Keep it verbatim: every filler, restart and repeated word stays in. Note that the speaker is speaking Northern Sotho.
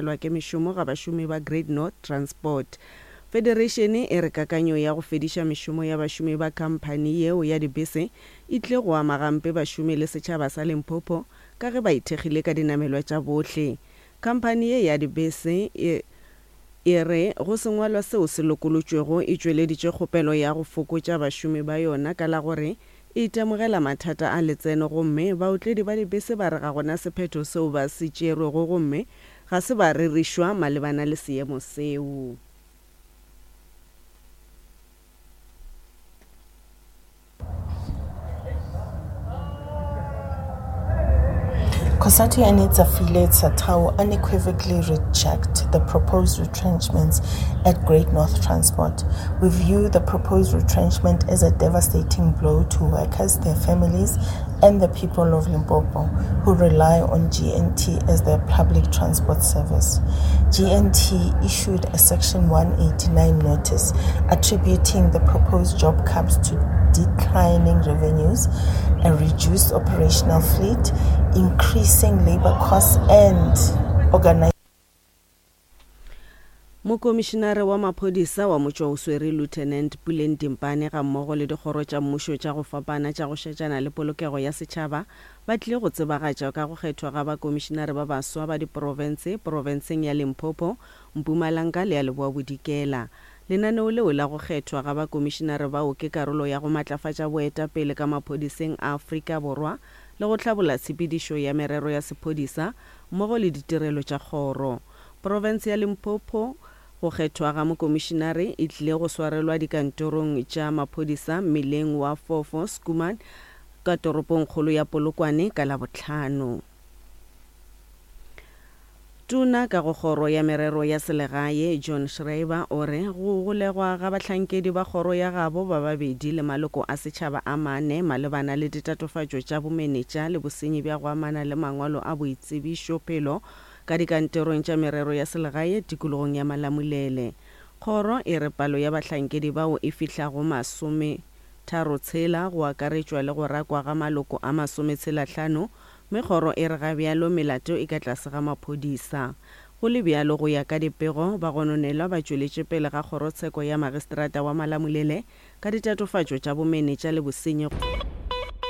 Lwa ke mešomo ga bašomi ba Great North Transport. Federeišene e re kakanyo ya go fediša mešomo ya bašomi ba khamphani yeo ya dibese e tlile go ama gampe bašomi le setšhaba sa Limpopo ka ge ba ithekgile ka dinamelwa tša bohle. Khamphani ye ya dibese e e re go sengwalwa seo se lokolotšwego e tšweleditše kgopelo ya go fokotša bašomi ba yona ka la gore e itemogela mathata a letseno gomme baotledi ba dibese ba re ga gona sephetho seo ba se tšerwego gomme ga se ba rerišwa malebana le seemo seo. COSATU and its affiliate SATAWU unequivocally reject the proposed retrenchments at Great North Transport. We view the proposed retrenchment as a devastating blow to workers, their families, and the people of Limpopo who rely on G N T as their public transport service. G N T issued a Section one eighty-nine notice attributing the proposed job cuts to declining revenues, a reduced operational fleet, increasing labor costs, and organization. Mokomišinare wa maphodisa wa motšwaoswere Lieutenant Puleng Dimpane ga mmogo le dikgoro tša mmušo tša go fapana tša go šetšana le polokego ya setšhaba ba tlile go tsebagatša ka go kgethwa ga bakomišinare ba baswa ba diprofense profenseng ya Limpopo, Mpumalanga le ya Leboa Bodikela. Lenaneo leo la go kgethwa ga bakomišinare bao ke karolo ya go matlafatša boetapele ka maphodiseng a Afrika Borwa le go hlabolla tshepedišo ya merero ya sephodisa mmogo le ditirelo tša kgoro. Profense ya Limpopo go kgethwa ga mokomišinare e tlile go swarelwa dikantorong tša maphodisa mmileng wa Fofo Schoeman ka toropongkgolo ya Polokwane ka Labohlano. Tona ka go kgoro ya merero ya selegae John Schreiber o re go golegwa ga bahlankedi ba kgoro ya gabo ba babedi le maloko a setšhaba a mane malebana le ditatofatšo tša bomenetša le bosenyi bja go amana le mangwalo a boitsebišophelo ka dikantorong tša merero ya selegae tikologong ya Malamulele. Kgoro e re palo ya bahlankedi bao e fihlago masome tharo tshela go akaretšwa le go rakwa ga maloko a masometshela hlano mme kgoro e re ga bjalo melato e ka tlase ga maphodisa. Go le bjalo go ya ka dipego ba gononelwa ba tšweletše pele ga kgorotsheko ya magistrata wa Malamulele ka ditatofatšo tša bomenetša le bosenyi.